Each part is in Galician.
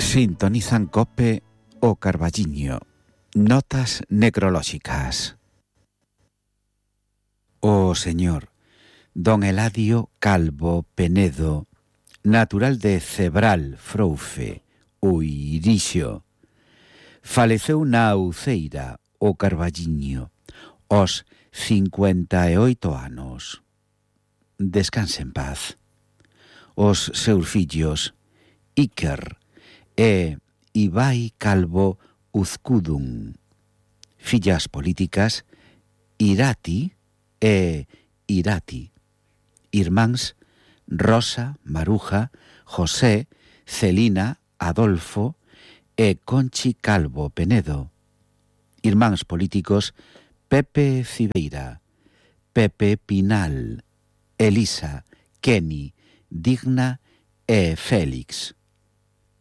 Sintonizan COPE o Carballiño. Notas necrolóxicas. O señor don Eladio Calvo Penedo, natural de Cebral, Froufe, Uirixo, faleceu na Uceira, o Carballiño, aos 58 anos. Descanse en paz. Os seus fillos, Iker e Ibai Calvo Uzkudun. Fillas políticas, Irati e Irati. Irmáns, Rosa, Maruja, José, Celina, Adolfo e Conchi Calvo Penedo. Irmáns políticos, Pepe Cibeira, Pepe Pinal, Elisa, Kenny, Digna e Félix.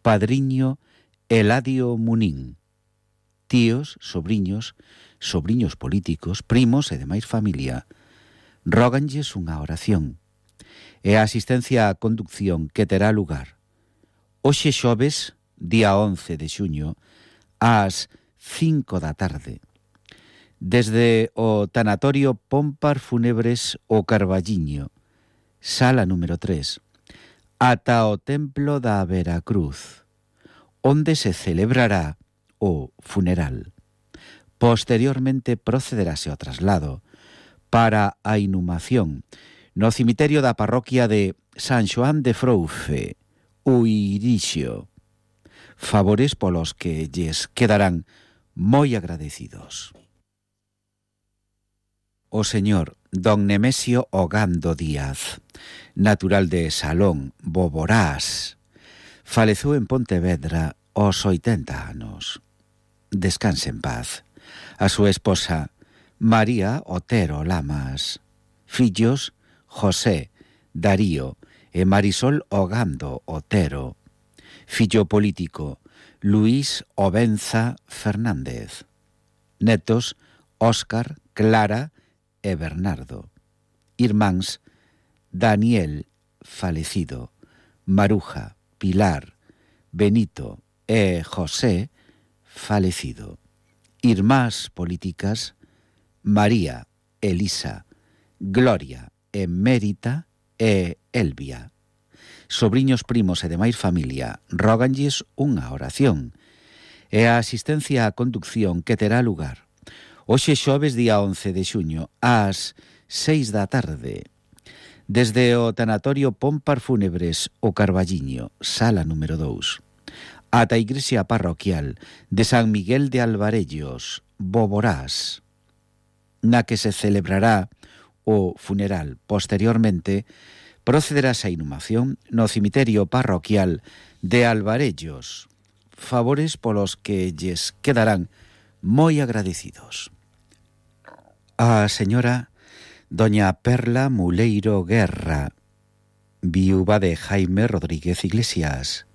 Padriño, Eladio Munín. Tíos, sobriños políticos, primos e demais familia. Róganlles unha oración e a asistencia á conducción que terá lugar hoxe xoves, día 11 de xuño, ás 5 da tarde, desde o tanatorio Pompar Fúnebres o Carballiño, sala número 3, ata o templo da Veracruz, onde se celebrará o funeral. Posteriormente procederase ao traslado para a inhumación no cemiterio da parroquia de San Xoán de Froufe, Uirixo. Favores polos que lles quedarán moi agradecidos. O señor don Nemesio Ogando Díaz, natural de Salón, Boborás, faleceu en Pontevedra aos 80 anos. Descanse en paz. A súa esposa, María Otero Lamas. Fillos, José, Darío e Marisol Ogando Otero. Fillo político, Luís Obenza Fernández. Netos, Óscar, Clara e Bernardo. Irmáns, Daniel, falecido, Maruja, Pilar, Benito e José, falecido. Irmás políticas, María, Elisa, Gloria, Emérita e Elvia. Sobriños, primos e demais familia róganlles unha oración e a asistencia á conducción que terá lugar hoxe xoves, día 11 de xuño, ás 6 da tarde, desde o tanatorio Pompar Fúnebres o Carballiño, sala número 2, ata a igrexa parroquial de San Miguel de Alvarellos, Boborás, na que se celebrará o funeral. Posteriormente, procederase a inhumación no cemiterio parroquial de Alvarellos. Favores polos que lles quedarán moi agradecidos. A señora doña Perla Muleiro Guerra, viúva de Jaime Rodríguez Iglesias,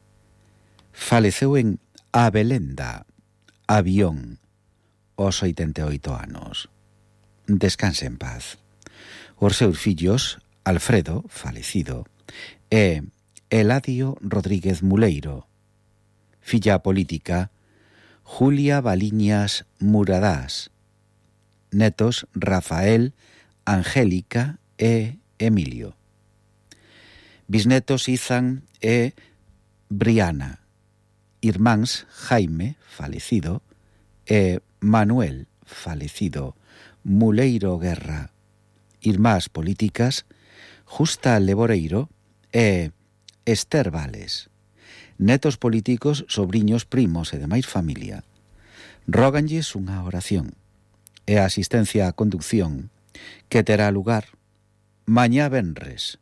faleceu en Abelenda, Avión, aos 88 anos. Descanse en paz. Os seus fillos, Alfredo, falecido, e Eladio Rodríguez Muleiro. Filla política, Julia Baliñas Muradás. Netos, Rafael, Angélica e Emilio. Bisnetos, Izan e Briana. Irmáns, Jaime, falecido, e Manuel, falecido, Muleiro Guerra. Irmás políticas, Justa Leboreiro e Esther Vales. Netos políticos, sobriños, primos e demais familia róganlles unha oración e a asistencia á conducción que terá lugar mañá venres,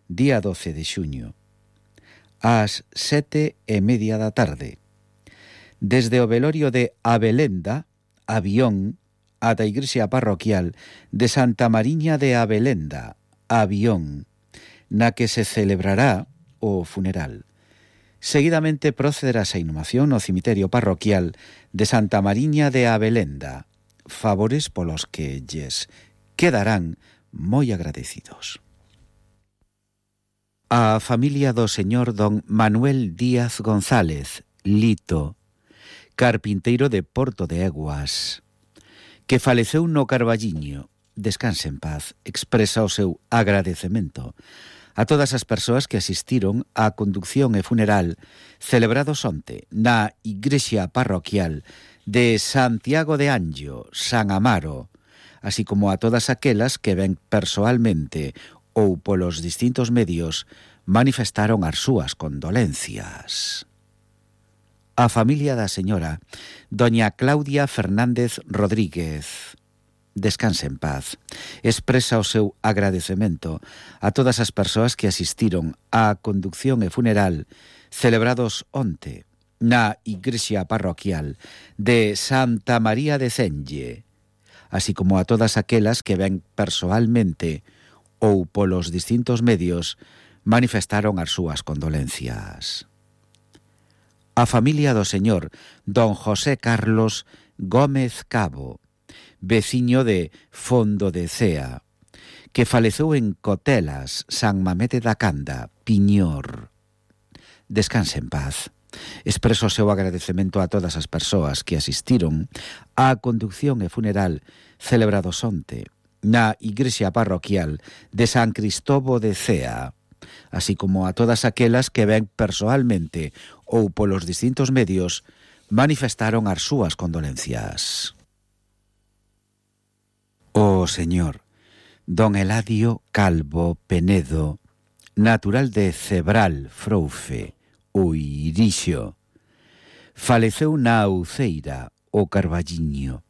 día 12 de xuño, ás 7:30 da tarde, desde o velorio de Abelenda, Avión, ata a igrexa parroquial de Santa Mariña de Abelenda, Avión, na que se celebrará o funeral. Seguidamente procederase a inhumación no cemiterio parroquial de Santa Mariña de Abelenda. Favores polos que lles quedarán moi agradecidos. A familia do señor don Manuel Díaz González Lito, carpinteiro de Porto de Eguas, que faleceu no Carballiño, descanse en paz, expresa o seu agradecemento a todas as persoas que asistiron á conducción e funeral celebrados onte na igrexa parroquial de Santiago de Anllo, San Amaro, así como a todas aquelas que ben persoalmente ou polos distintos medios manifestaron as súas condolencias. A familia da señora doña Claudia Fernández Rodríguez, descanse en paz, expresa o seu agradecemento a todas as persoas que asistiron á conducción e funeral celebrados onte na igrexa parroquial de Santa María de Cenge, así como a todas aquelas que ben persoalmente ou polos distintos medios manifestaron as súas condolencias. A familia do señor don José Carlos Gómez Cabo, veciño de Fondo de Cea, que faleceu en Cotelas, San Mamede da Canda, Piñor. Descanse en paz. Expreso o seu agradecemento a todas as persoas que asistiron á conducción e funeral celebrados onte na igrexa parroquial de San Cristóbo de Cea, así como a todas aquelas que ben persoalmente ou polos distintos medios manifestaron as súas condolencias. O señor don Eladio Calvo Penedo, natural de Cebral, Froufe, Uirixo, faleceu na Uceira, o Carballiño,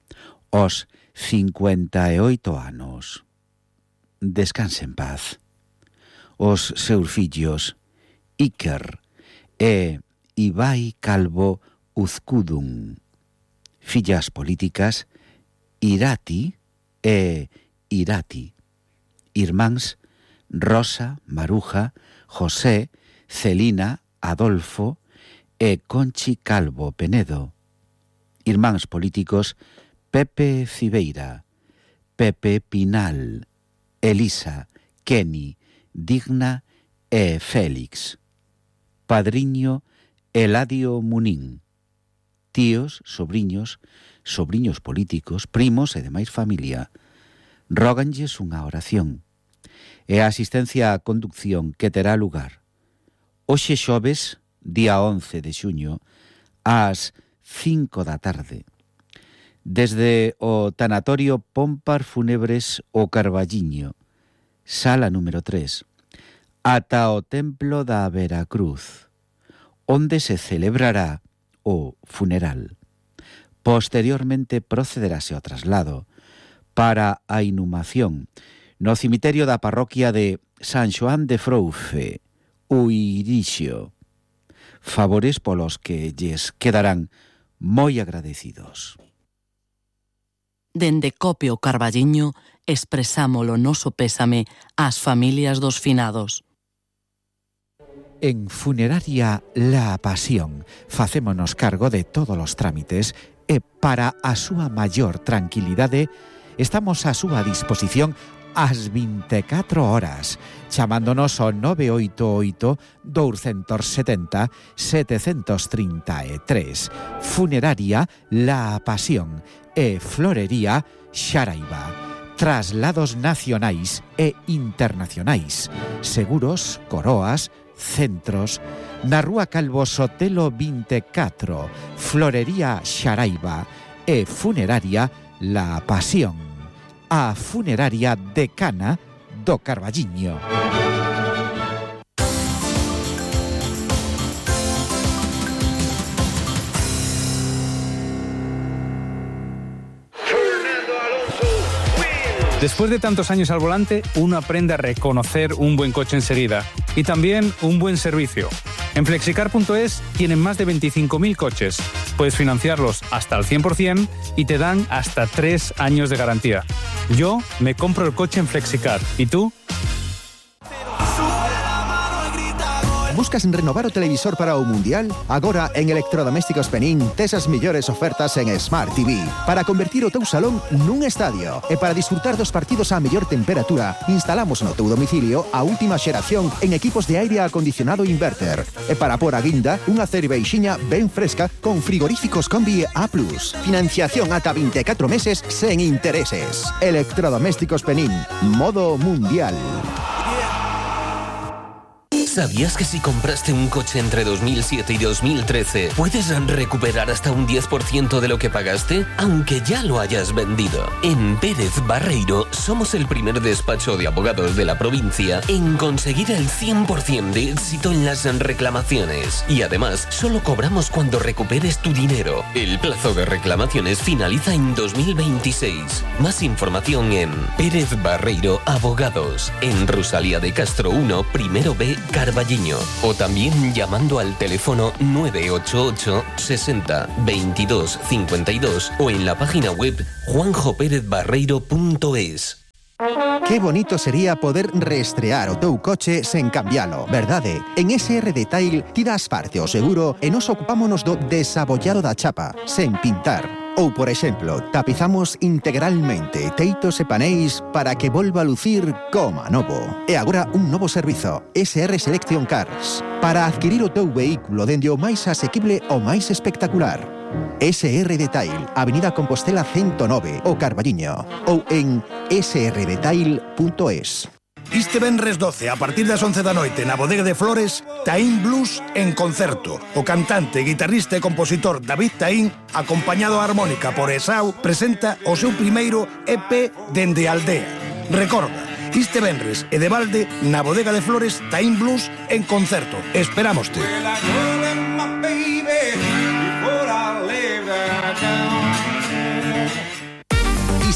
aos 58 anos. Descanse en paz. Os seus fillos, Iker e Ibai Calvo Uzcudun, fillas políticas, Irati e Irati, irmáns Rosa, Maruja, José, Celina, Adolfo e Conchi Calvo Penedo, irmáns políticos Pepe Cibeira, Pepe Pinal, Elisa, Kenny, Digna e Félix, padriño Eladio Munín, tíos, sobriños políticos, primos e demais familia, róganlles unha oración e a asistencia á conducción que terá lugar hoxe xoves, día 11 de xuño, ás 5 da tarde, desde o tanatorio Pompar Fúnebres o Carballiño, sala número 3, ata o templo da Veracruz, onde se celebrará o funeral. Posteriormente procederase ao traslado para a inhumación no cemiterio da parroquia de San Xoán de Froufe, Uirixo, favores polos que lles quedarán moi agradecidos. Dende Cope o Carballiño expresamos o noso pésame ás familias dos finados. En Funeraria La Pasión facémonos cargo de todos os trámites e para a súa maior tranquilidade estamos a súa disposición ás 24 horas, chamándonos ao 988-270-733. Funeraria La Pasión e Florería Xaraiba. Traslados nacionais e internacionais, seguros, coroas, centros, na Rúa Calvo Sotelo 24, Florería Xaraiba e Funeraria La Pasión. A funeraria decana do Carballiño. Después de tantos años al volante, uno aprende a reconocer un buen coche enseguida y también un buen servicio. En Flexicar.es tienen más de 25.000 coches. Puedes financiarlos hasta el 100% y te dan hasta 3 años de garantía. Yo me compro el coche en Flexicar. ¿Y tú? Buscas renovar o televisor para o Mundial? Agora en Electrodomésticos Penín tes as mellores ofertas en Smart TV para convertir o teu salón nun estadio e para disfrutar dos partidos á mellor temperatura. Instalamos no teu domicilio a última xeración en equipos de aire acondicionado inverter e para por a guinda unha cerveixiña ben fresca con frigoríficos Combi A+. Financiación ata 24 meses sen intereses. Electrodomésticos Penín, modo mundial. ¿Sabías que si compraste un coche entre 2007 y 2013 puedes recuperar hasta un 10% de lo que pagaste, aunque ya lo hayas vendido? En Pérez Barreiro somos el primer despacho de abogados de la provincia en conseguir el 100% de éxito en las reclamaciones. Y además, solo cobramos cuando recuperes tu dinero. El plazo de reclamaciones finaliza en 2026. Más información en Pérez Barreiro Abogados, en Rosalía de Castro 1, primero B, Carballiño, o también llamando al teléfono 988 60 22 52 o en la página web juanjoperezbarreiro.es. Qué bonito sería poder reestrear o teu coche sen cambialo, verdade? En SR Detail tiras parte o seguro e nos ocupámonos do desabollado da chapa, sen pintar. Ou, por exemplo, tapizamos integralmente teitos e paneis para que volva a lucir como novo. E agora un novo servizo, SR Selection Cars, para adquirir o teu vehículo dende o máis asequible ao máis espectacular. SR Detail, Avenida Compostela 109, o Carballiño, ou en srdetail.es. Este venres 12, a partir das 11 da noite, na Bodega de Flores, Taín Blues en concerto. O cantante, guitarrista e compositor David Taín, acompañado a armónica por Esau, presenta o seu primeiro EP dende a aldea. Recorda, este venres e de balde, na Bodega de Flores, Taín Blues en concerto. Esperámoste.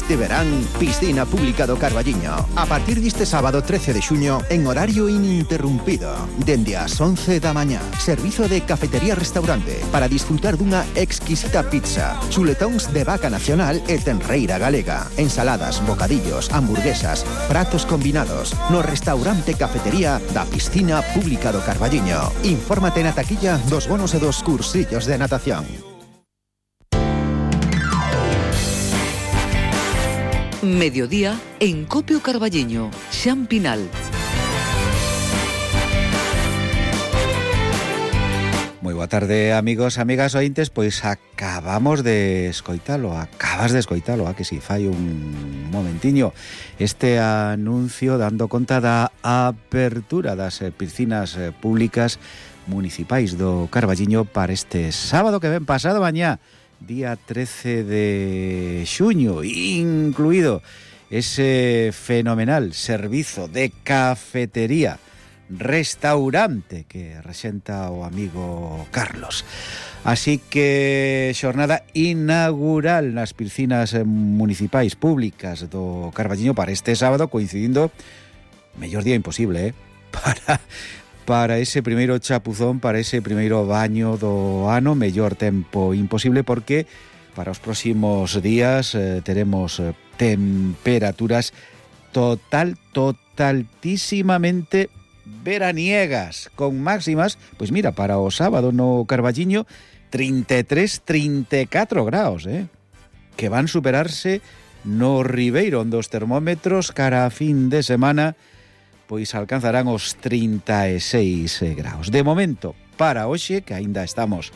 Este verán, piscina pública do Carballiño. A partir deste sábado 13 de xuño, en horario ininterrumpido. Dende as 11 da mañá. Servizo de cafetería-restaurante para disfrutar dunha exquisita pizza, chuletóns de vaca nacional e tenreira galega, ensaladas, bocadillos, hamburguesas, pratos combinados, no restaurante cafetería da piscina pública do Carballiño. Infórmate na taquilla dos bonos e dos cursillos de natación. Mediodía en Copio Carballiño, Xan Pinal. Moi boa tarde, amigos, amigas ointes. Pois acabas de escoitalo, a que si fai un momentiño este anuncio dando conta da apertura das piscinas públicas municipais do Carballiño para este sábado que ven pasado mañá, día 13 de xuño, incluído ese fenomenal servizo de cafetería restaurante que rexenta o amigo Carlos. Así que xornada inaugural nas piscinas municipais públicas do Carballiño para este sábado, coincidindo, mellor día imposible, para ese primeiro chapuzón, para ese primeiro baño do ano, mellor tempo imposible, porque para os próximos días teremos temperaturas totaltísimamente veraniegas, con máximas, pois mira, para o sábado no Carballiño 33-34 graus, que van superarse no Ribeiro, onde os termómetros cara a fin de semana pois alcanzarán os 36 graus. De momento, para hoxe, que aínda estamos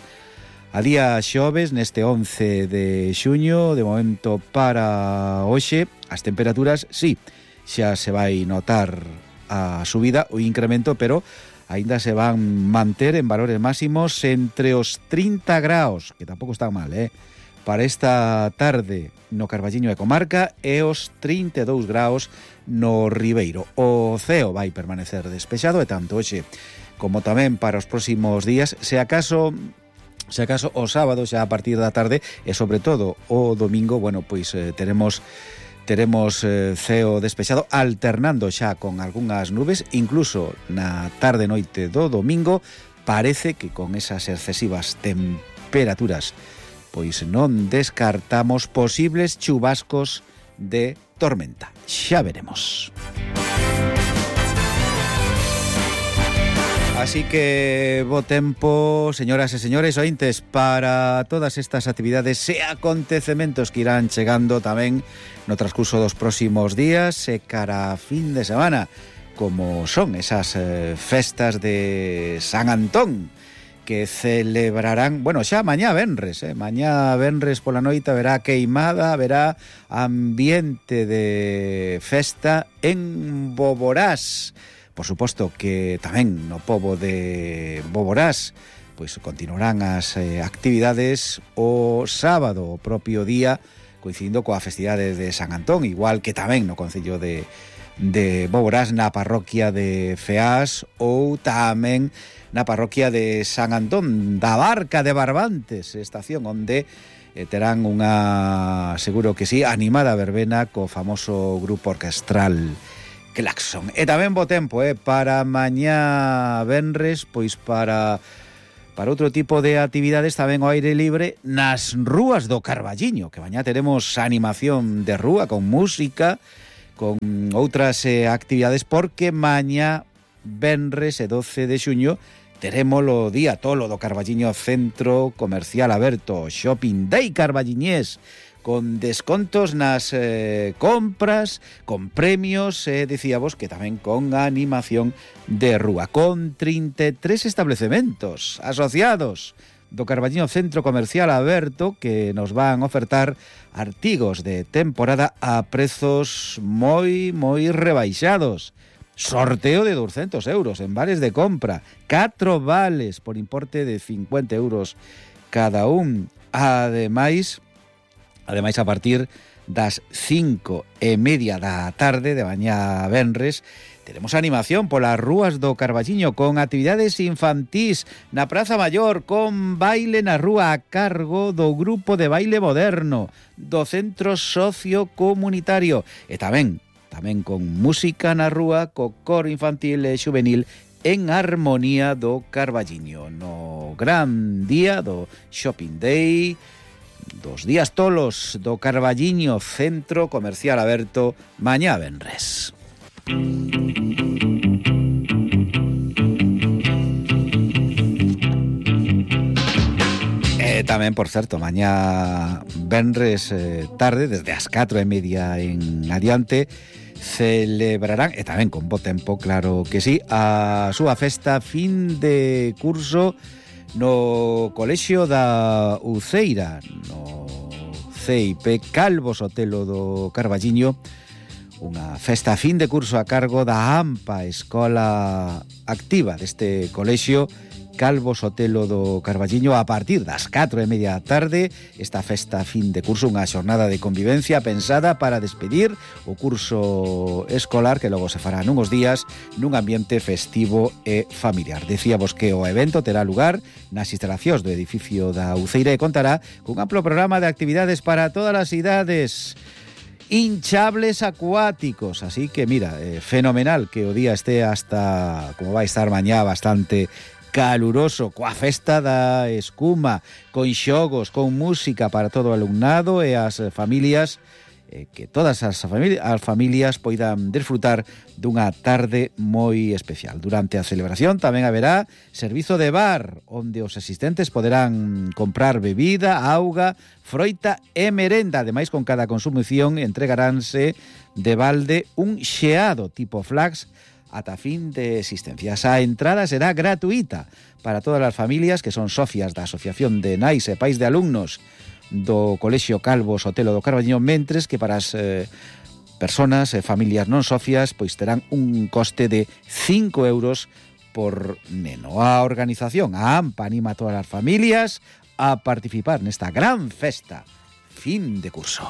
a día xoves, neste 11 de xuño, de momento para hoxe, as temperaturas, sí, xa se vai notar a subida, o incremento, pero aínda se van manter en valores máximos entre os 30 graus, que tampouco está mal, para esta tarde no Carballiño e comarca, e os 32 graus no Ribeiro. O ceo vai permanecer despexado, e tanto hoxe como tamén para os próximos días, se acaso o sábado xa a partir da tarde, e sobre todo o domingo, bueno, pois teremos ceo despexado, alternando xa con algunhas nubes, incluso na tarde noite do domingo, parece que con esas excesivas temperaturas pois non descartamos posibles chubascos de tormenta. Xa veremos. Así que bo tempo, señoras e señores ointes, para todas estas actividades e acontecementos que irán chegando tamén no transcurso dos próximos días e cara a fin de semana, como son esas festas de San Antón, que celebrarán, bueno, xa mañá venres, mañá venres pola noite haberá queimada, haberá ambiente de festa en Boborás. Por suposto que tamén no pobo de Boborás pois continuarán as actividades o sábado, o propio día, coincidindo coa festividade de San Antón, igual que tamén no concello de Boborás, na parroquia de Feás, ou tamén na parroquia de San Antón da Barca de Barbantes, estación onde terán unha, seguro que sí, animada verbena co famoso grupo orquestral Claxon. E tamén bo tempo, para mañá venres, pois para outro tipo de actividades tamén ao aire libre nas rúas do Carballiño, que mañá teremos animación de rúa con música, con outras actividades, porque mañá venres e 12 de xuño teremos o día tolo do Carballiño Centro Comercial Aberto, Shopping Day Carballiñés, con descontos nas compras, con premios, decíamos que tamén con animación de rúa, con 33 establecementos asociados do Carballiño Centro Comercial Aberto que nos van a ofertar artigos de temporada a prezos moi rebaixados. Sorteo de 200 euros en vales de compra, 4 vales por importe de 50 euros cada un. Ademais, a partir das 5:30 da tarde de mañá venres, teremos animación polas rúas do Carballiño con actividades infantís na Praza Maior, con baile na rúa a cargo do grupo de baile moderno do Centro Sociocomunitario e tamén con música na rúa co coro infantil e xuvenil en Armonía do Carballiño, no gran día do Shopping Day, dos días tolos do Carballiño Centro Comercial Aberto mañá venres. Tamén, por certo, mañá venres tarde, desde as 4:30 en adiante, celebrarán, e tamén con bo tempo, claro que sí, a súa festa fin de curso no Colexio da Uceira, no CIP Calvo Sotelo do Carballiño, unha festa fin de curso a cargo da AMPA, Escola Activa deste colexio Calvo Sotelo do Carballiño, a partir das 4:30 da tarde. Esta festa fin de curso, unha xornada de convivencia pensada para despedir o curso escolar, que logo se fará nunhos días nun ambiente festivo e familiar. Decíamos que o evento terá lugar nas instalacións do edificio da Uceira e contará cun amplo programa de actividades para todas as idades, hinchables acuáticos, así que mira, fenomenal que o día este hasta, como vai estar mañá, bastante caluroso, coa festa da escuma, con xogos, con música para todo o alumnado e as familias, que todas as familias poidan desfrutar dunha tarde moi especial. Durante a celebración tamén haberá servizo de bar, onde os asistentes poderán comprar bebida, auga, froita e merenda. Ademais, con cada consumición entregaránse de balde un xeado tipo flax ata fin de existencias. A entrada será gratuita para todas as familias que son socias da Asociación de Nais e Pais de Alumnos do Colexio Calvo Sotelo do Carballiño, mentres que para as personas e familias non socias pois terán un coste de 5 euros por neno. A organización, a AMPA, anima a todas as familias a participar nesta gran festa fin de curso.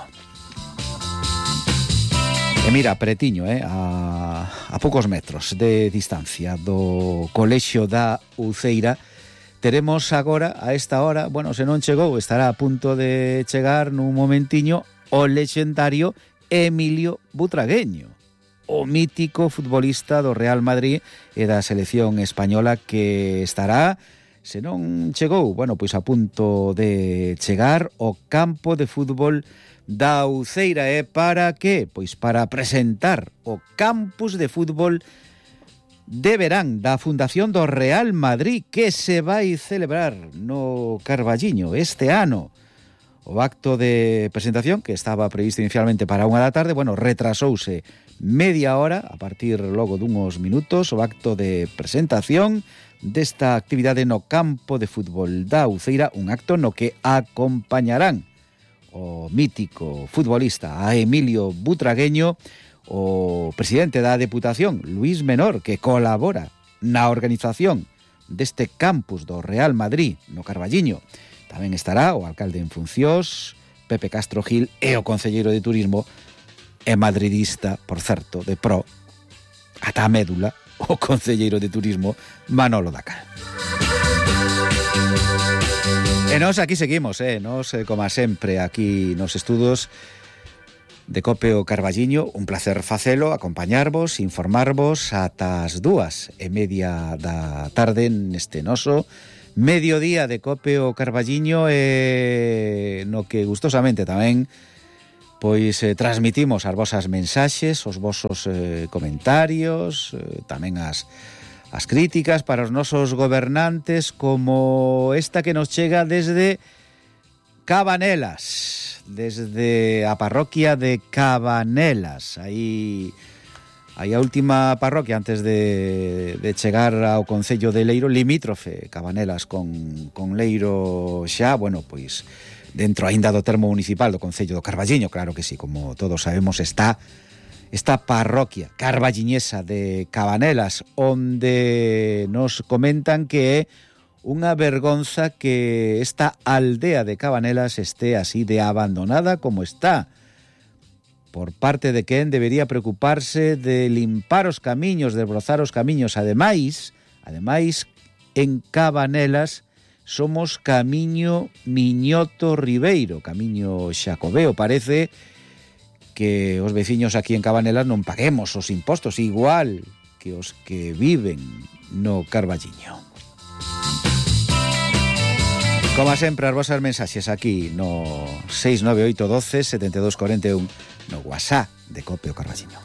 E mira, pretiño, a poucos metros de distancia do Colexio da Uceira, teremos agora, a esta hora, bueno, se non chegou, estará a punto de chegar nun momentiño, o lexendario Emilio Butragueño, o mítico futbolista do Real Madrid e da selección española, que estará, se non chegou, bueno, pois a punto de chegar ao campo de fútbol da Uceira. E para que? Pois para presentar o campus de fútbol de verán da Fundación do Real Madrid que se vai celebrar no Carballiño este ano. O acto de presentación, que estaba previsto inicialmente para 1 da tarde, retrasouse media hora, a partir logo dunhos minutos, o acto de presentación desta actividade no campo de fútbol da Uceira, un acto no que acompañarán o mítico futbolista a Emilio Butragueño, o presidente da Deputación, Luis Menor, que colabora na organización deste campus do Real Madrid no Carballiño. Tamén estará o alcalde en funcións, Pepe Castro Gil, e o concelleiro de Turismo, e madridista, por certo, de pro, ata a médula, o concelleiro de Turismo, Manolo Dacal. E nós aquí seguimos, nós, como sempre, aquí nos estudos de COPE o Carballiño, un placer facelo, acompañarvos, informarvos ata as 2:30 da tarde neste noso mediodía de COPE o Carballiño, no que gustosamente tamén pois transmitimos as vosas mensaxes, os vosos comentarios, tamén as críticas para os nosos gobernantes, como esta que nos chega desde Cabanelas, desde a parroquia de Cabanelas. Aí a última parroquia antes de chegar ao concello de Leiro, limítrofe Cabanelas con Leiro xa, pois dentro aínda do termo municipal do concello do Carballiño, claro que sí, como todos sabemos, está esta parroquia carballiñesa de Cabanelas, onde nos comentan que é unha vergonza que esta aldea de Cabanelas esté así de abandonada como está. Por parte de quen debería preocuparse de limpar os camiños, de brozar os camiños. Ademais, en Cabanelas somos camiño Miñoto Ribeiro, camiño Xacobeo. Parece que os veciños aquí en Cabanelas non paguemos os impostos igual que os que viven no Carballiño. Como sempre, as vosas mensaxes aquí no 69812 7241 no WhatsApp de COPE o Carballiño.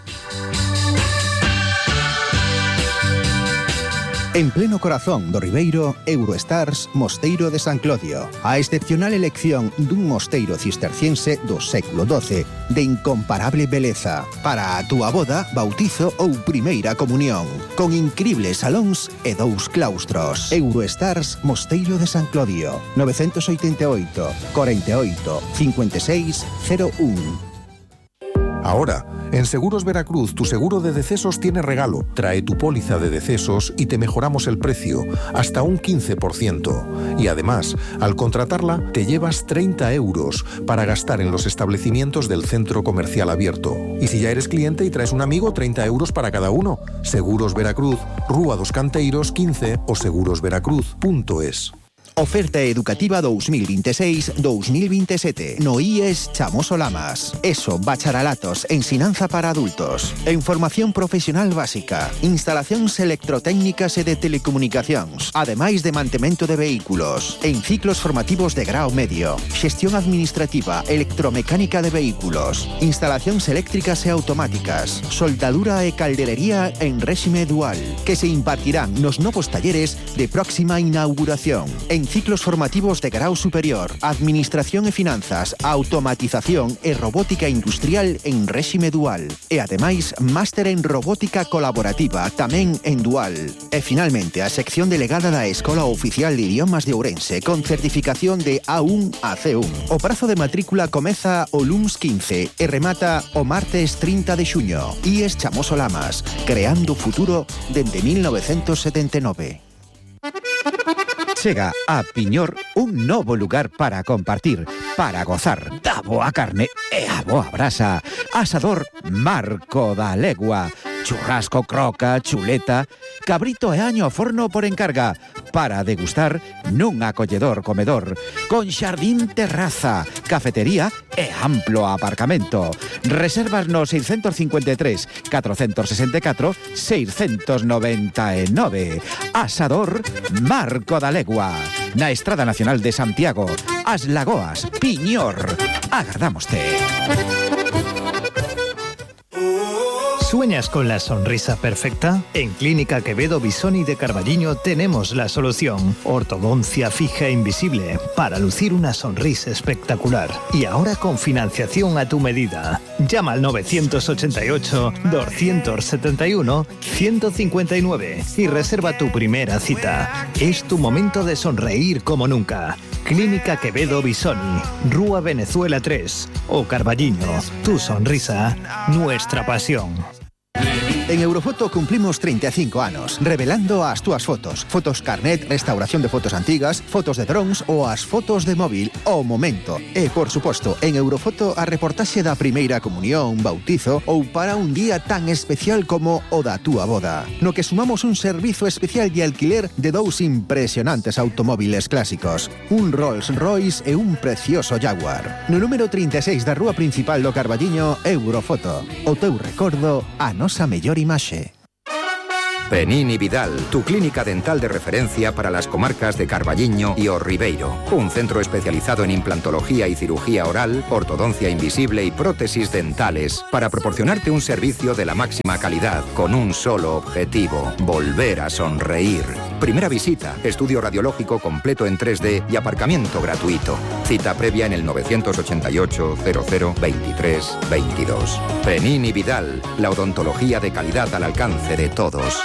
En pleno corazón do Ribeiro, Eurostars Mosteiro de San Clodio. A excepcional elección dun mosteiro cisterciense do século XII de incomparable beleza para a túa boda, bautizo ou primeira comunión, con incribles salóns e 2 claustros. Eurostars Mosteiro de San Clodio, 988 48 56 01. Ahora, en Seguros Veracruz, tu seguro de decesos tiene regalo. Trae tu póliza de decesos y te mejoramos el precio, hasta un 15%. Y además, al contratarla, te llevas 30 euros para gastar en los establecimientos del centro comercial abierto. Y si ya eres cliente y traes un amigo, 30 euros para cada uno. Seguros Veracruz, Rúa dos Canteiros 15 o segurosveracruz.es. Oferta educativa 2026-2027 no IES Chamoso Lamas. ESO, bacharelatos, ensinanza para adultos. En formación profesional básica, instalacións electrotécnicas e de telecomunicacións, ademais de mantemento de vehículos. En ciclos formativos de grao medio, xestión administrativa, electromecánica de vehículos, instalacións eléctricas e automáticas, soldadura e caldelería en réxime dual, que se impartirán nos novos talleres de próxima inauguración. En ciclos formativos de grau superior, administración e finanzas, automatización e robótica industrial en réxime dual. E ademais, máster en robótica colaborativa, tamén en dual. E finalmente, a sección delegada da Escola Oficial de Idiomas de Ourense, con certificación de A1 a C1. O prazo de matrícula comeza o luns 15 e remata o martes 30 de xuño. IES Chamoso Lamas, creando futuro dende 1979. Chega a Piñor un novo lugar para compartir, para gozar da boa carne e a boa brasa. Asador Marco da Legua. Churrasco, croca, chuleta, cabrito e año ao forno por encarga, para degustar nun acolledor comedor, con xardín terraza, cafetería e amplo aparcamento. Reservas no 653 464 699. Asador Marco da Legua, na Estrada Nacional de Santiago, As Lagoas, Piñor. Agardámoste. ¿Sueñas con la sonrisa perfecta? En Clínica Quevedo Bisoni de Carballiño tenemos la solución. Ortodoncia fija e invisible para lucir una sonrisa espectacular. Y ahora con financiación a tu medida. Llama al 978-271-159 y reserva tu primera cita. Es tu momento de sonreír como nunca. Clínica Quevedo Bisoni, Rúa Venezuela 3 o Carballiño. Tu sonrisa, nuestra pasión. En Eurofoto cumplimos 35 anos, revelando as túas fotos. Fotos carnet, restauración de fotos antigas, fotos de drones ou as fotos de móvil ao momento. E, por suposto, en Eurofoto a reportaxe da primeira comunión, bautizo ou para un día tan especial como o da túa boda. No que sumamos un servizo especial de alquiler de dous impresionantes automóviles clásicos. Un Rolls Royce e un precioso Jaguar. No número 36 da rúa principal do Carballiño, Eurofoto. O teu recordo, a nosa mellor imaxe. Penini Vidal, tu clínica dental de referencia para las comarcas de Carballiño y O Ribeiro. Un centro especializado en implantología y cirugía oral, ortodoncia invisible y prótesis dentales para proporcionarte un servicio de la máxima calidad con un solo objetivo: volver a sonreír. Primera visita, estudio radiológico completo en 3D y aparcamiento gratuito. Cita previa en el 988 00 23 22. Penini Vidal, la odontología de calidad al alcance de todos.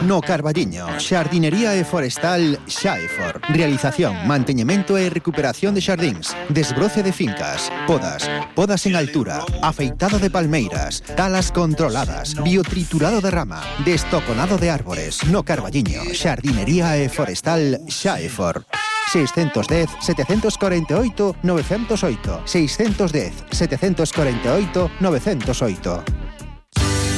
No Carballiño, xardinería e forestal Xaefor. Realización, manteñemento e recuperación de xardíns, desbroce de fincas, podas, podas en altura, afeitado de palmeiras, talas controladas, biotriturado de rama, destoconado de árbores. No Carballiño, xardinería e forestal Xaefor. 610 748 908 610 748 908.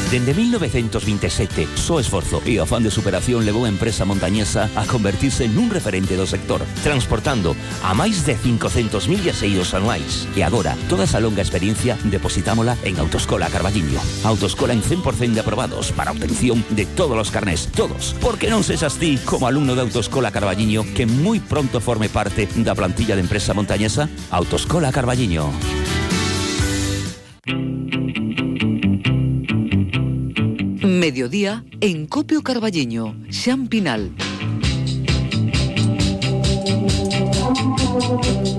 Dende 1927, só esforzo e afán de superación levou a empresa montañesa a convertirse nun referente do sector, transportando a máis de 500.000 viaxeiros anuais. E agora, toda esa longa experiencia depositámola en Autoescola Carballiño. Autoescola en 100% de aprobados para obtención de todos os carnés, todos. Porque non sexas ti, como alumno de Autoescola Carballiño, que moi pronto forme parte da plantilla de empresa montañesa. Autoescola Carballiño. Mediodía en Copio Carballiño, Xampinal.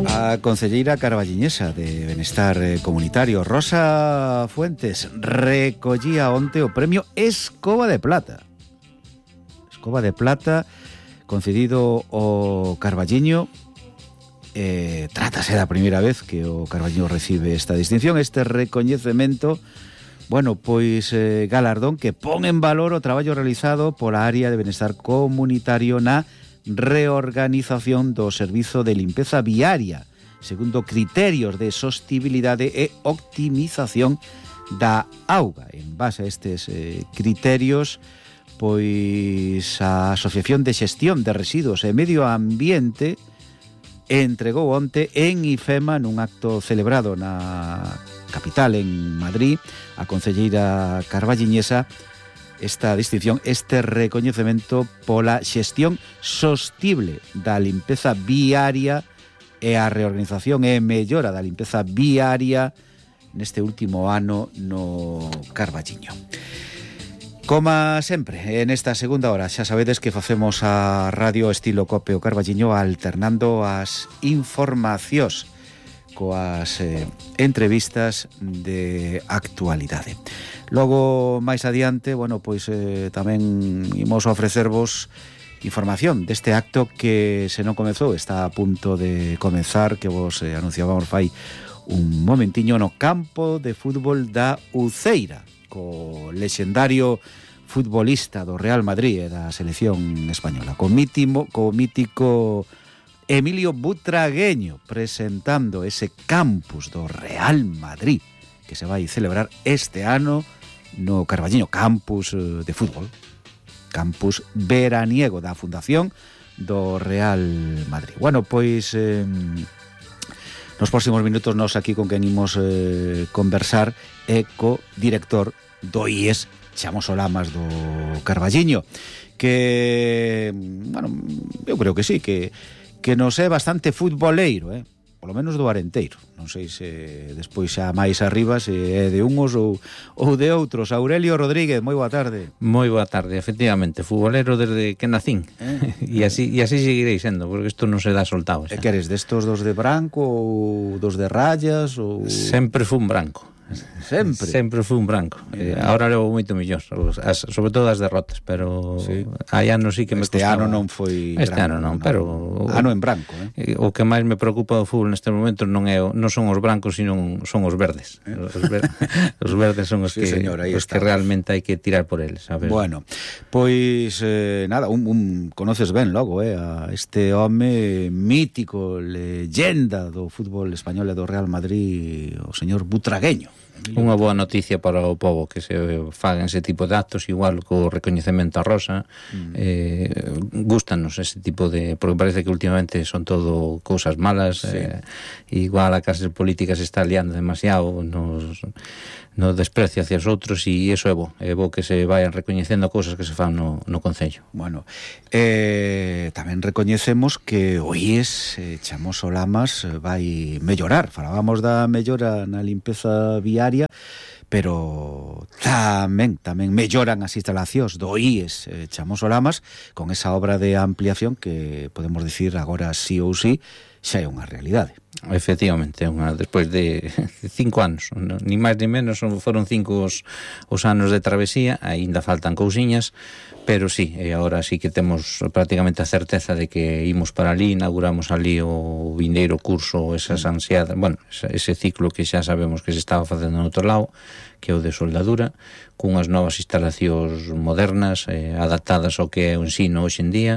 A concelleira carballiñesa de Benestar Comunitario, Rosa Fuentes, recollía onte o premio Escoba de Plata. Escoba de Plata concedido ao Carballiño. Trátase da primeira vez que o Carballiño recibe esta distinción, este recoñecemento. Bueno, pois galardón que pon en valor o traballo realizado pola área de benestar comunitario na reorganización do servizo de limpeza viaria, segundo criterios de sostibilidade e optimización da auga. En base a estes criterios, pois a Asociación de Xestión de Residuos e Medio Ambiente entregou onte en IFEMA nun acto celebrado na capital, en Madrid, a concelleira carballiñesa esta distinción, este recoñecemento pola xestión sostible da limpeza viaria e a reorganización e mellora da limpeza viaria neste último ano no Carballiño. Como sempre, en esta segunda hora xa sabedes que facemos a radio estilo Copio Carballiño alternando as informacións coas entrevistas de actualidade. Logo, máis adiante, bueno, pois tamén imos ofrecervos información deste acto que se non comezou, está a punto de comezar, que vos anunciábamos fai un momentiño no campo de fútbol da Uceira, co lexendario futbolista do Real Madrid e da selección española, co mítico Emilio Butragueño presentando ese campus do Real Madrid que se vai celebrar este ano no Carballiño, campus de fútbol, campus veraniego da Fundación do Real Madrid. Bueno, pois nos próximos minutos nos aquí con quen imos conversar e co director do IES Xamos Olamas do Carballiño, que, bueno, eu creo que sí, que nos é bastante futboleiro, polo menos do Arenteiro. Non sei se despois xa máis arriba se é de unhos ou de outros. Aurelio Rodríguez, moi boa tarde. Moi boa tarde, efectivamente, futbolero desde que nacín. E así seguirei sendo, porque isto non se dá soltado. E que eres destos dos de branco ou dos de rayas ou sempre fun branco. Sempre fui un branco. Ahora levo moito mellor, sobre todo as derrotas, pero hai anos sí que me costaba. Este ano non foi branco. Este ano non, pero ano en branco, O que máis me preocupa do fútbol neste momento non son os brancos, sino son os verdes. Os verdes son os que realmente hai que tirar por eles, sabes? Bueno, pois nada, conoces ben logo, a este home mítico, leyenda do fútbol español e do Real Madrid, o señor Butragueño. Unha boa noticia para o pobo que se fagan ese tipo de actos, igual co recoñecemento a Rosa. Gústanos ese tipo de, porque parece que últimamente son todo cousas malas. Igual a clase política se está liando demasiado no desprecio hacia os outros, e iso é bo que se vayan recoñecendo cousas que se fan no Concello. Bueno, tamén recoñecemos que o IES Chamoso Lamas vai mellorar. Falábamos da mellora na limpeza viaria, pero tamén melloran as instalacións do IES Chamoso Lamas con esa obra de ampliación que podemos dicir agora sí ou sí xa é unha realidade. Efectivamente, despois de 5 anos, ni máis ni menos, foron 5 os anos de travesía, aínda faltan cousiñas, pero sí, agora sí que temos prácticamente a certeza de que imos para ali, inauguramos ali o vindeiro curso, esas ansiadas, ese ciclo que xa sabemos que se estaba facendo no outro lado, que é o de soldadura, cunhas novas instalacións modernas, adaptadas ao que é o ensino hoxe en día,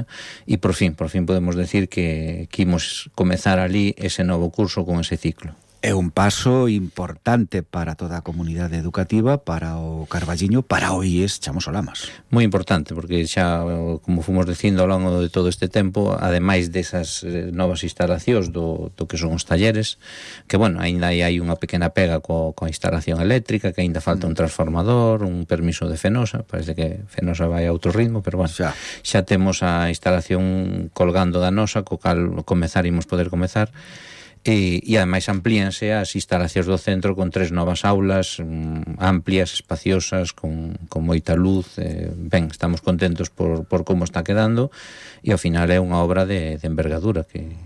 e por fin podemos decir que imos comezar ali ese novo curso con ese ciclo. É un paso importante para toda a comunidade educativa, para o Carballiño, para o IES Chamoso Lamas. Moi importante, porque xa, como fomos dicindo ao longo de todo este tempo, ademais desas novas instalacións do que son os talleres, que, aínda hai unha pequena pega coa instalación eléctrica, que aínda falta un transformador, un permiso de Fenosa, parece que Fenosa vai a outro ritmo, pero xa temos a instalación colgando da nosa, co cal poder comezar. E ademais amplíanse as instalacións do centro con 3 novas aulas amplias, espaciosas, con moita luz. Estamos contentos por como está quedando, e ao final é unha obra de envergadura que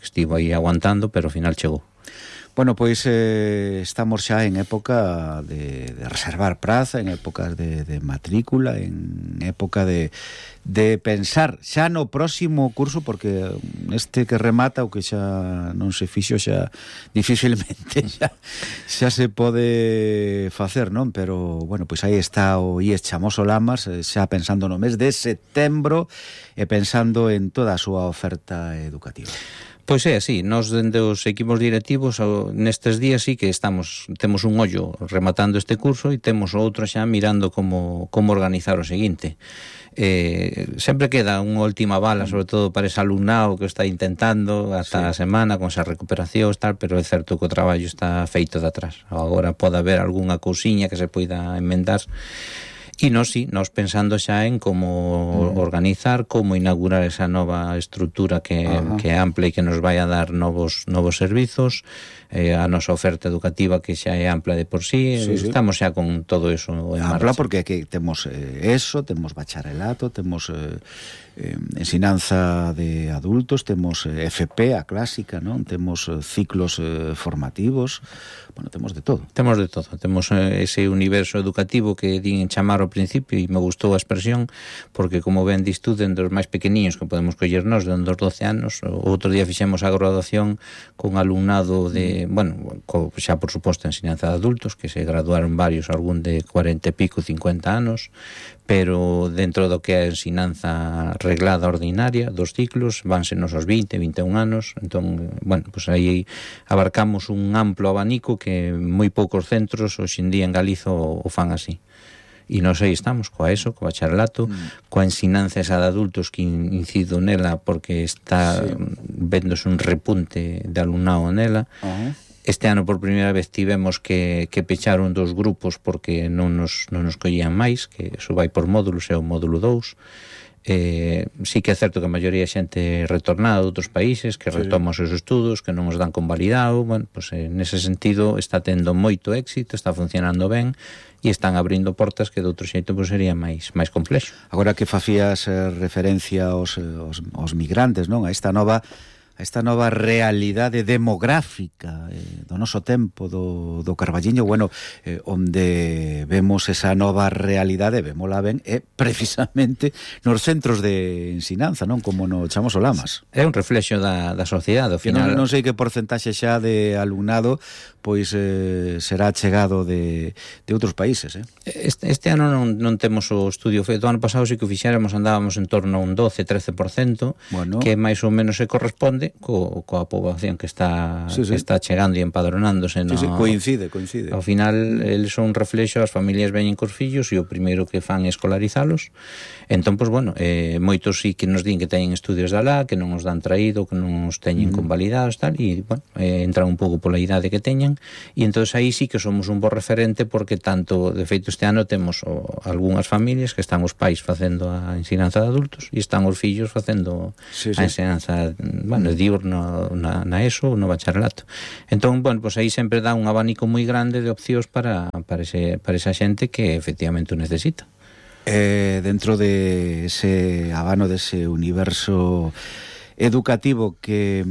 estivo aí aguantando, pero ao final chegou. Bueno, pois estamos xa en época de reservar praza, en épocas de matrícula, en época de pensar xa no próximo curso, porque este que remata, o que xa non se fixo, xa dificilmente xa se pode facer, non? Pero, pois aí está o IES Chamoso Lamas, xa pensando no mes de setembro e pensando en toda a súa oferta educativa. Pois é así, nós dende os equipos directivos nestes días sí que temos un ollo rematando este curso e temos outro xa mirando como organizar o seguinte. Sempre queda unha última bala, sobre todo para ese alumnado que está intentando hasta a semana con esa recuperación, pero é certo que o traballo está feito de atrás. Agora pode haber algunha cousiña que se poida enmendar. E nós pensando xa en como organizar, como inaugurar esa nova estrutura que é ampla e que nos vai a dar novos servizos, a nosa oferta educativa que xa é ampla de por sí. Estamos xa con todo eso en marcha. Ampla porque aquí temos temos bacharelato, temos ensinanza de adultos, temos FP, a clásica, non? Temos ciclos formativos, temos de todo. Temos ese universo educativo que din chamar ao principio, e me gustou a expresión, porque como ben dis tú, dende os máis pequeniños que podemos coller nós, dende os 12 anos, outro día fixemos a graduación con alumnado de, xa por suposto ensinanza de adultos, que se graduaron varios, algún de 40 e pico, 50 anos, pero dentro do que é a ensinanza reglada ordinaria dos ciclos, vanse nos aos 20, 21 anos, entón, pues aí abarcamos un amplo abanico que moi poucos centros hoxe en día en Galiza o fan así. E nós aí estamos, coa ESO, co bacharelato, coa ensinanza esa de adultos que incido nela porque está vendose un repunte de alumnado nela. Este ano por primeira vez tivemos que pechar un dos grupos porque non nos collían máis, que eso vai por módulos, é o módulo 2. Sí que é certo que a maioría é xente retornada de outros países que retoma os seus estudos, que non os dan convalidado. Bueno, pues, nese sentido está tendo moito éxito, está funcionando ben e están abrindo portas que de outro xeito pues, sería máis complexo. Agora que facías referencia aos migrantes, non? A esta nova realidade demográfica do noso tempo, do Carballiño, bueno, onde vemos esa nova realidade, vémola ben, é precisamente nos centros de ensinanza, non? Como no Chamoso Lamas. É un reflexo da sociedade, ao final. Non sei que porcentaxe xa de alumnado pois será chegado de outros países, Este ano non temos o estudio feito. O ano pasado sí que o fixéramos, andábamos en torno a un 12-13%, bueno, que máis ou menos se corresponde coa poboación que está chegando e empadronándose. Coincide. Ao final, eles son un reflexo, as familias veñen cos fillos e o primeiro que fan é escolarizalos. Entón, pois, bueno, moitos sí que nos din que teñen estudios de alá, que non os dan traído, que non os teñen convalidados, tal, e, bueno, entran un pouco pola idade que teñen, e entón aí sí que somos un bo referente, porque tanto, de feito, este ano temos algunhas familias que están os pais facendo a ensinanza de adultos e están os fillos facendo a ensinanza, bueno, diurno na ESO ou no bacharelato. Entón, bueno, pues aí sempre dá un abanico moi grande de opcións para esa xente que efectivamente o necesita. Dentro de ese abano, de ese universo educativo que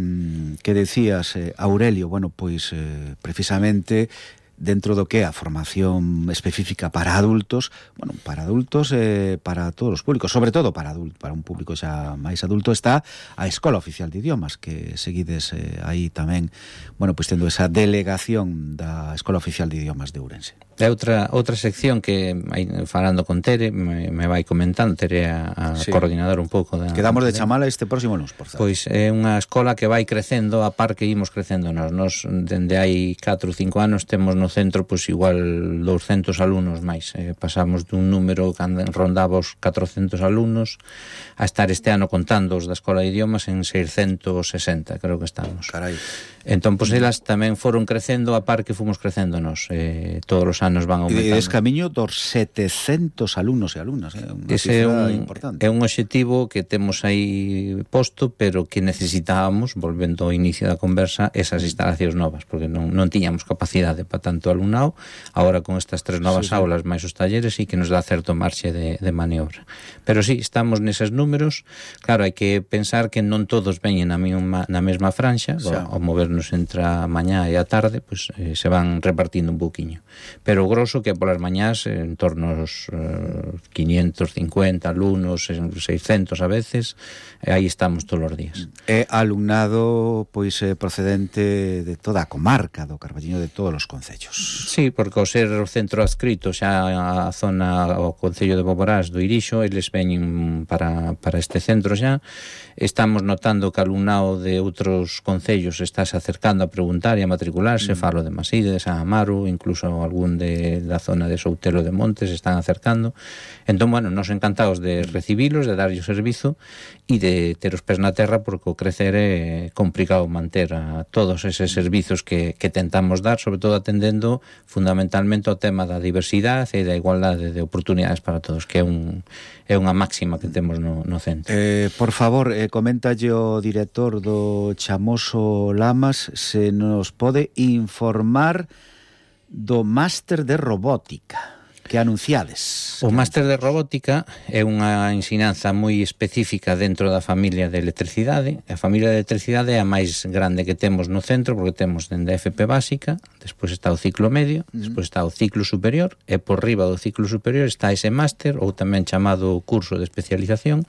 decías, Aurelio, bueno, pois precisamente dentro do que é a formación específica para adultos, bueno, para adultos para todos os públicos, sobre todo para un público xa máis adulto, está a Escola Oficial de Idiomas, que seguides aí tamén, bueno, pois tendo esa delegación da Escola Oficial de Idiomas de Ourense. É outra sección que, falando con Tere, me vai comentando. Tere a coordinadora un pouco da... Quedamos de chamala este próximo lunes, por certo. Pois é unha escola que vai crecendo a par que imos crecendo nós. Dende hai 4 ou 5 anos temos no centro pois igual 200 alumnos máis. Pasamos dun número que rondaba os 400 alumnos a estar este ano contando os da Escola de Idiomas en 660, creo que estamos. Carai. Entón, pois elas tamén foron crecendo a par que fomos crecendo nós. Todos os anos van aumentando. E es camiño dos 700 alumnos e alumnas, unha cifra importante. É un obxectivo que temos aí posto, pero que necesitábamos, volvendo ao inicio da conversa, esas instalacións novas, porque non tiñamos capacidade para tanto alumnado. Agora con estas 3 novas aulas máis os talleres sí que nos dá certo marxe de maniobra. Pero sí, estamos neses números. Claro, hai que pensar que non todos veñen na mesma franxa, ao movernos entre a mañá e a tarde, pois se van repartindo un pouquiño. Pero o grosso que é polas mañás en torno aos 550 alumnos, 600 a veces, aí estamos todos os días. É alumnado pois procedente de toda a comarca do Carballiño, de todos os concellos. Sí, porque ao ser o centro adscrito xa a zona, o concello de Boborás do Irixo, eles veñen para este centro xa. Estamos notando que alumnado de outros concellos estáse acercando a preguntar e a matricularse. Falo de Maside, de San Amaro, incluso algún da zona de Soutelo de Montes están acercando. Entón, bueno, nos encantados de recibilos, de darlle o servizo e de ter os pés na terra, porque o crecer é complicado manter a todos eses servizos que tentamos dar, sobre todo atendendo fundamentalmente o tema da diversidade e da igualdade de oportunidades para todos, que é unha máxima que temos no centro. Por favor, coméntalle o director do Chamoso Lamas se nos pode informar do máster de robótica que anunciades. O máster de robótica é unha ensinanza moi específica dentro da familia de electricidade. A familia de electricidade é a máis grande que temos no centro, porque temos dende a FP básica, despois está o ciclo medio, despois está o ciclo superior, e por riba do ciclo superior está ese máster, ou tamén chamado curso de especialización,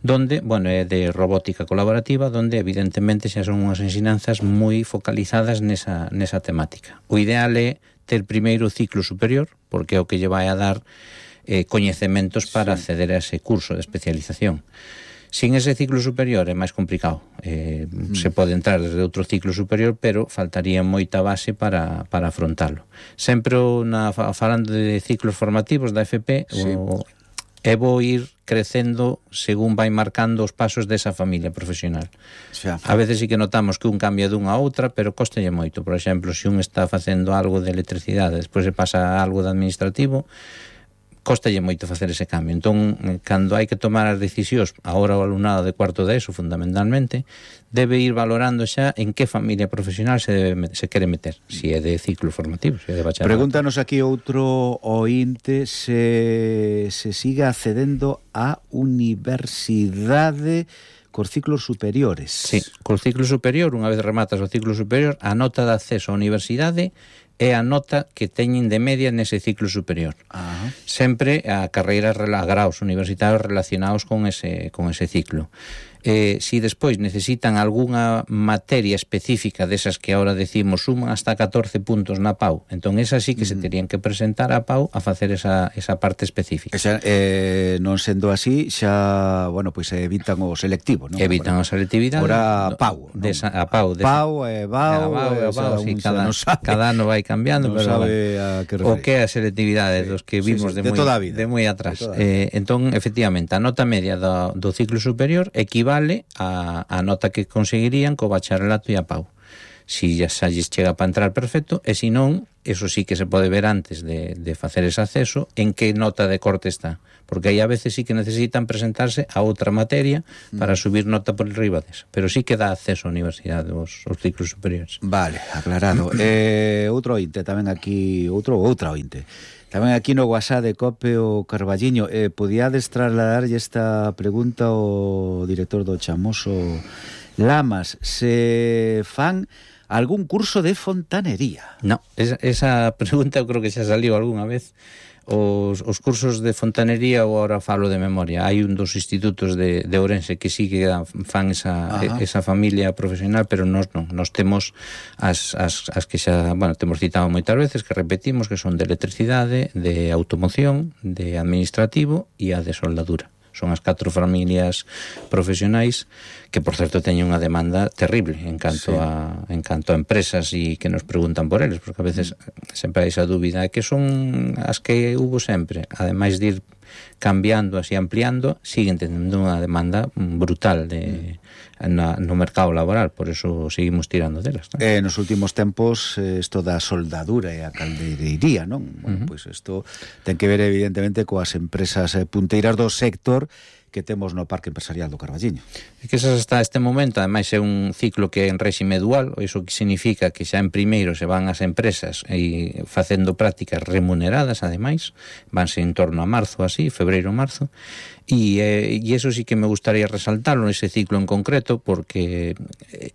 donde, bueno, é de robótica colaborativa, donde evidentemente xa son unhas ensinanzas moi focalizadas nesa temática. O ideal é ter primeiro o ciclo superior, porque é o que lle vai a dar coñecementos para acceder a ese curso de especialización. Sin ese ciclo superior é máis complicado. Se pode entrar desde outro ciclo superior, pero faltaría moita base para afrontalo. Sempre falando de ciclos formativos da FP, é bo ir crecendo según vai marcando os pasos desa familia profesional. A veces sí que notamos que un cambia dunha a outra, pero cóstalle moito. Por exemplo, se un está facendo algo de electricidade, despois se pasa a algo de administrativo, costalle moito facer ese cambio. Entón, cando hai que tomar as decisións, agora o alumnado de cuarto de ESO, fundamentalmente, debe ir valorando xa en que familia profesional se quere meter, se é de ciclo formativo, se é de bacharelato. Pregúntanos aquí outro ointe se sigue accedendo á universidade cos ciclos superiores. Sí, cos ciclos superior, unha vez rematas o ciclo superior, a nota de acceso á universidade é a nota que teñen de media nese ciclo superior. Sempre a carreiras, a graos universitarios relacionados con ese ciclo. Si despois necesitan algunha materia específica desas que ahora decimos suman hasta 14 puntos na PAU, entón esas sí que se terían que presentar a PAU a facer esa parte específica. Non sendo así, xa, bueno, pois evitan o selectivo, non? Evitan a selectividade. Ora PAU, non? A PAU. PAU e BAU, sí, cada ano vai cambiando, pero o que é a selectividade dos que vimos de moi atrás. Entón, efectivamente, a nota media do ciclo superior equivale a nota que conseguirían co bacharelato e a PAU. Si xa lles chega para entrar, perfecto, e si non, eso sí que se pode ver antes de facer ese acceso en que nota de corte está, porque aí a veces sí que necesitan presentarse a outra materia para subir nota por riba desa, pero sí que dá acceso á universidade os ciclos superiores. Vale, aclarado. Outro ointe tamén aquí, outra ointe tamén aquí no WhatsApp de Cope o Carballiño. Podíades trasladarlle esta pregunta ao director do Chamoso Lamas, se fan algún curso de fontanería? No, esa pregunta eu creo que xa saliu algunha vez. Os cursos de fontanería, ou agora falo de memoria, hai un dos institutos de Ourense que sí que fan esa familia profesional, pero nós non, nós temos as que xa, bueno, temos citado moitas veces, que repetimos, que son de electricidade, de automoción, de administrativo e a de soldadura. Son as 4 familias profesionais que, por certo, teñen unha demanda terrible en canto a empresas e que nos preguntan por eles, porque a veces sempre hai esa dúbida, que son as que hubo sempre, ademais de ir cambiando así, ampliando, siguen tendo unha demanda brutal no mercado laboral, por eso seguimos tirando delas, non? Nos últimos tempos, isto da soldadura e a caldeirería, non? Bueno, pois isto ten que ver evidentemente coas empresas punteiras do sector que temos no Parque Empresarial do Carballiño. É que hasta este momento, ademais, é un ciclo que é en réxime dual, iso que significa que xa en primeiro se van as empresas e facendo prácticas remuneradas, ademais, vanse en torno a marzo, así, febreiro-marzo, e iso sí que me gustaría resaltarlo nese ciclo en concreto, porque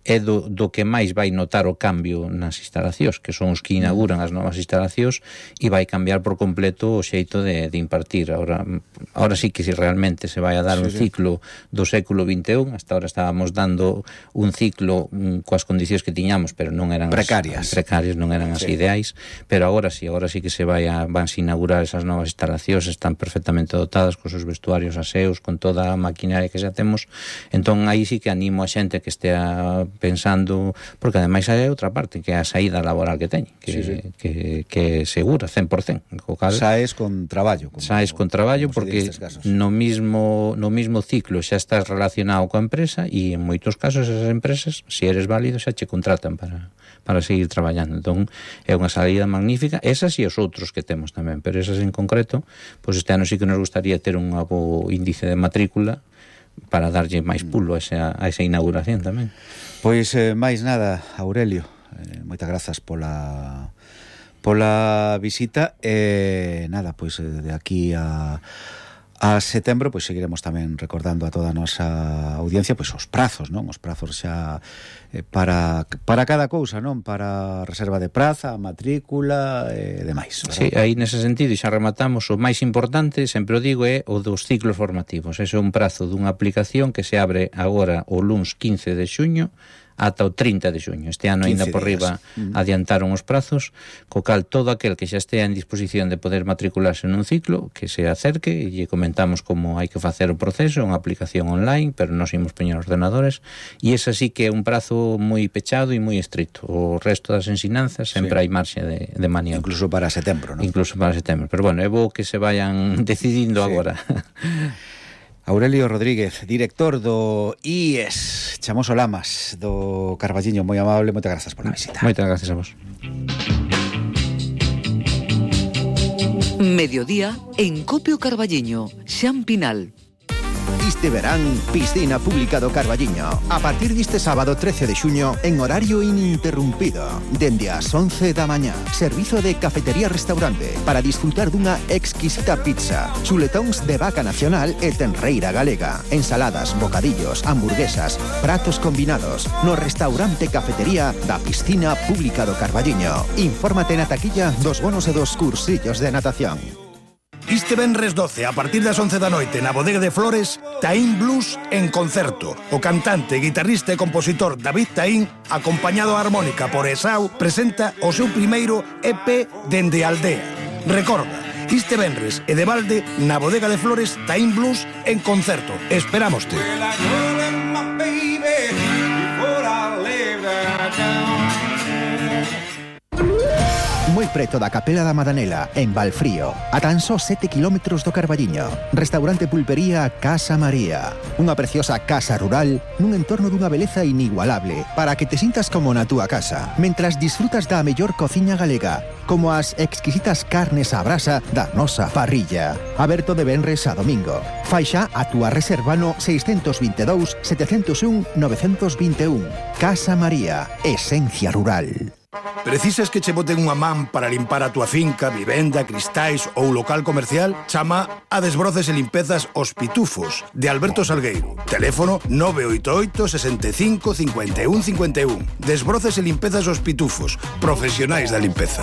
é do que máis vai notar o cambio nas instalacións, que son os que inauguran as novas instalacións, e vai cambiar por completo o xeito de impartir. Ahora sí que si realmente se vai a dar un ciclo do século XXI, hasta ahora estábamos dando un ciclo coas condicións que tiñamos, pero non eran precarias, non eran as ideais, pero agora sí que se vanse inaugurar esas novas instalacións, están perfectamente dotadas cos seus vestuarios aseos, con toda a maquinaria que xa temos. Entón aí sí que animo a xente que estea pensando, porque ademais hai outra parte, que é a saída laboral que teñen, que é segura, 100%. Saes con traballo. Saes con traballo, porque no mismo ciclo xa estás relacionado coa empresa, e en moitos casos esas empresas, se eres válido, xa che contratan para seguir traballando. Entón é unha saída magnífica, esas e os outros que temos tamén, pero esas en concreto, pois este ano sí que nos gustaría ter un novo índice de matrícula para darlle máis pulo a esa inauguración tamén. Pois máis nada, Aurelio, moitas grazas pola visita, nada, pois de aquí a setembro, pois seguiremos tamén recordando a toda a nosa audiencia pois os prazos, non? Os prazos xa para cada cousa, non? Para reserva de praza, matrícula e demais. Sí, aí nese sentido, e xa rematamos, o máis importante, sempre o digo, é o dos ciclos formativos. Ese é un prazo dunha aplicación que se abre agora o luns 15 de xuño ata o 30 de xuño. Este ano ainda por riba adiantaron os prazos, co cal todo aquel que xa estea en disposición de poder matricularse nun ciclo, que se acerque e lle comentamos como hai que facer o proceso, unha aplicación online, pero nos imos poñer ordenadores, e ese sí que é un prazo moi pechado e moi estricto. O resto das ensinanzas sempre hai marxe de maniobra. Incluso para setembro, non? Incluso para setembro, pero bueno, é bo que se vayan decidindo agora. Aurelio Rodríguez, director do IES Chamoso Lamas do Carballiño, moi amable, moitas grazas pola visita. Moitas grazas a vos. Mediodía en Copio Carballiño, Xan Pinal. Este verán, piscina pública do Carballiño. A partir deste sábado 13 de xuño, en horario ininterrumpido. Dende as 11 da mañá. Servizo de cafetería-restaurante para disfrutar dunha exquisita pizza, chuletóns de vaca nacional e tenreira galega, ensaladas, bocadillos, hamburguesas, pratos combinados. No restaurante cafetería da piscina pública do Carballiño. Infórmate na taquilla dos bonos e dos cursillos de natación. Este venres 12, a partir das 11 da noite, na Bodega de Flores, Taín Blues en concerto. O cantante, guitarrista e compositor David Taín, acompañado a armónica por Esau, presenta o seu primeiro EP Dende a Aldea. Recorda, este venres e de balde, na Bodega de Flores, Taín Blues en concerto. Esperámoste. Moi preto da Capela da Madanela, en Valfrío, a tan só 7 kilómetros do Carballiño. Restaurante Pulpería Casa María. Unha preciosa casa rural nun entorno dunha beleza inigualable para que te sintas como na túa casa, mentras disfrutas da mellor cociña galega, como as exquisitas carnes á brasa da nosa parrilla. Aberto de venres a domingo. Fai xa a túa reserva no 622 701 921. Casa María, esencia rural. Precisas que che boten unha man para limpar a túa finca, vivenda, cristais ou local comercial? Chama a Desbroces e Limpezas Os Pitufos, de Alberto Salgueiro. Teléfono 988 65 51 51. Desbroces e Limpezas Os Pitufos, profesionais da limpeza.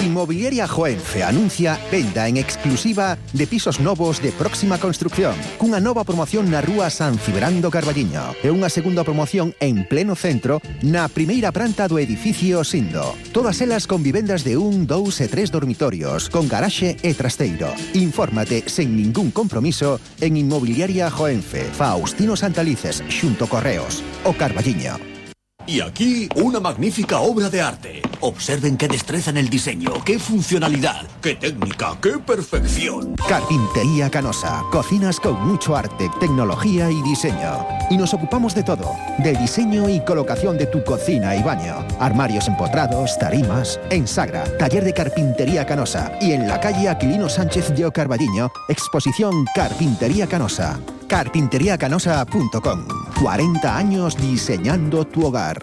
Inmobiliaria Joenfe anuncia venda en exclusiva de pisos novos de próxima construcción, cunha nova promoción na rúa San Cibrán do Carballiño e unha segunda promoción en pleno centro na primeira planta do edificio Sindo. Todas elas con vivendas de 1, 2 e 3 dormitorios, con garaxe e trasteiro. Infórmate sen ningún compromiso en Inmobiliaria Joenfe, Faustino Santalices, xunto Correos, o Carballiño. Y aquí una magnífica obra de arte. Observen qué destreza en el diseño, qué funcionalidad, qué técnica, qué perfección. Carpintería Canosa. Cocinas con mucho arte, tecnología y diseño. Y nos ocupamos de todo. Del diseño y colocación de tu cocina y baño. Armarios empotrados, tarimas. En Sagra, taller de Carpintería Canosa. Y en la calle Aquilino Sánchez de Carballiño, exposición Carpintería Canosa. Carpinteriacanosa.com. 40 años diseñando tu hogar.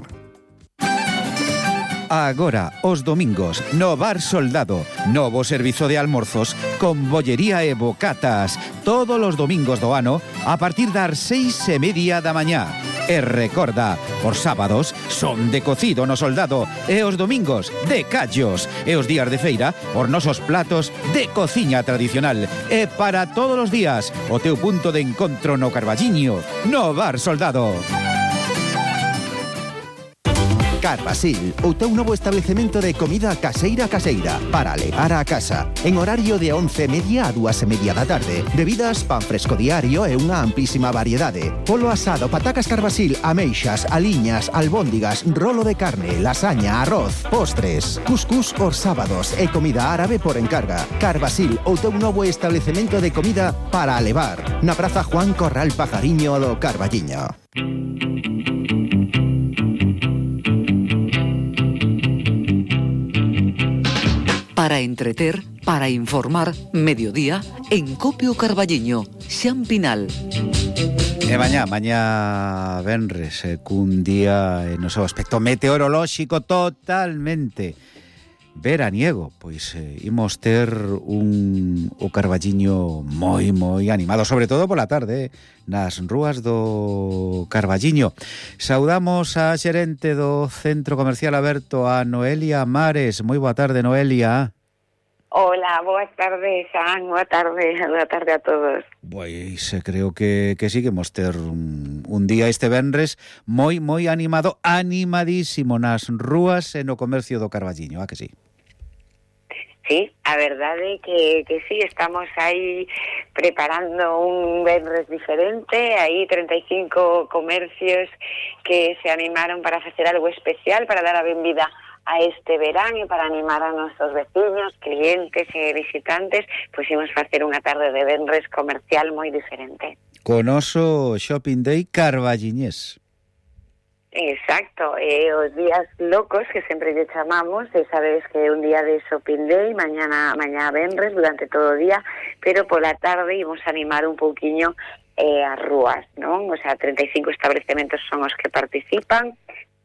Agora, os domingos, no Bar Soldado, novo servizo de almorzos con bollería e bocatas, todos os domingos do ano a partir das 6:30 da mañá. E recorda, os sábados son de cocido no Soldado e os domingos de callos e os días de feira os nosos platos de cociña tradicional e para todos os días o teu punto de encontro no Carballiño, no Bar Soldado. Carbasil, o teu novo establecemento de comida caseira para levar a casa. En horario de 11:30 a 2:30 da tarde. Bebidas, pan fresco diario e unha amplísima variedade. Polo asado, patacas Carbasil, ameixas, aliñas, albóndigas, rolo de carne, lasaña, arroz, postres, cuscús os sábados e comida árabe por encarga. Carbasil, o teu novo establecemento de comida para levar. Na Praza Juan Corral Pajariño do Carballiño. Para entreter, para informar, mediodía, en Copio Carballiño, Xan Pinal. E mañá venres, cun día no seu aspecto meteorolóxico totalmente veraniego, pois imos ter o Carballiño moi animado, sobre todo pola tarde, nas rúas do Carballiño. Saudamos a xerente do Centro Comercial Aberto, a Noelia Mares. Moi boa tarde, Noelia. Hola, boas tardes, Xan, boa tarde a todos. Pois creo que sí que imos ter un día este venres moi animado, animadísimo nas rúas e no comercio do Carballiño, a que sí? Sí, a verdade que sí, estamos aí preparando un venres diferente, aí 35 comercios que se animaron para facer algo especial, para dar a benvida a este verán e para animar a nosos veciños, clientes e visitantes, pois imos facer unha tarde de venres comercial moi diferente. Con oso Shopping Day carballiñés. Exacto, os días locos que sempre lle chamamos, sabes que é un día de shopping day, mañá venres durante todo o día, pero pola tarde imos animar un pouquiño as rúas, non? O sea, 35 establecementos son os que participan,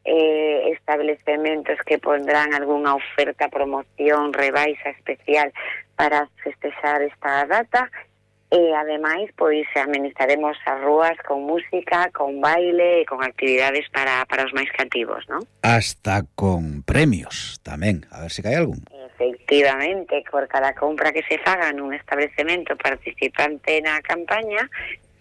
establecementos que pondrán algunha oferta, promoción, rebaixa especial para festexar esta data. E, ademais, pois, amenizaremos as rúas con música, con baile e con actividades para os máis cativos, non? Hasta con premios tamén, a ver se cae algún. Efectivamente, por cada compra que se faga nun establecemento participante na campaña,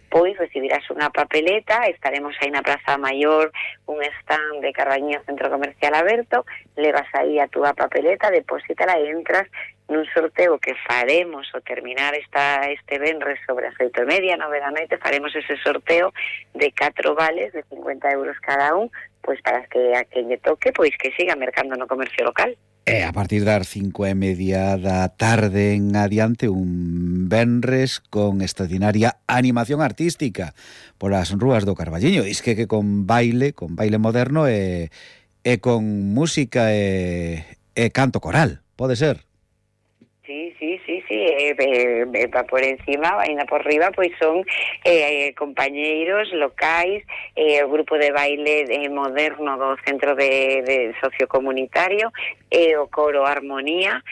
pois recibirás unha papeleta, estaremos aí na Praza Maior, un stand de Carballiño Centro Comercial aberto, levas aí a túa papeleta, deposítala e entras nun sorteo que faremos ao terminar este venres sobre as 8:30, 9 da noite, faremos ese sorteo de 4 vales de 50 euros cada un, pois para que a quen lle toque, pois que siga mercando no comercio local. E a partir das 5:30 da tarde en adiante, un venres con extraordinaria animación artística polas rúas do Carballiño. I's que con baile moderno e con música e canto coral, pode ser? Sí, va por encima, vaina por riba, pois son compañeiros locais, o grupo de baile moderno do Centro de Sociocomunitario, o coro Armonía,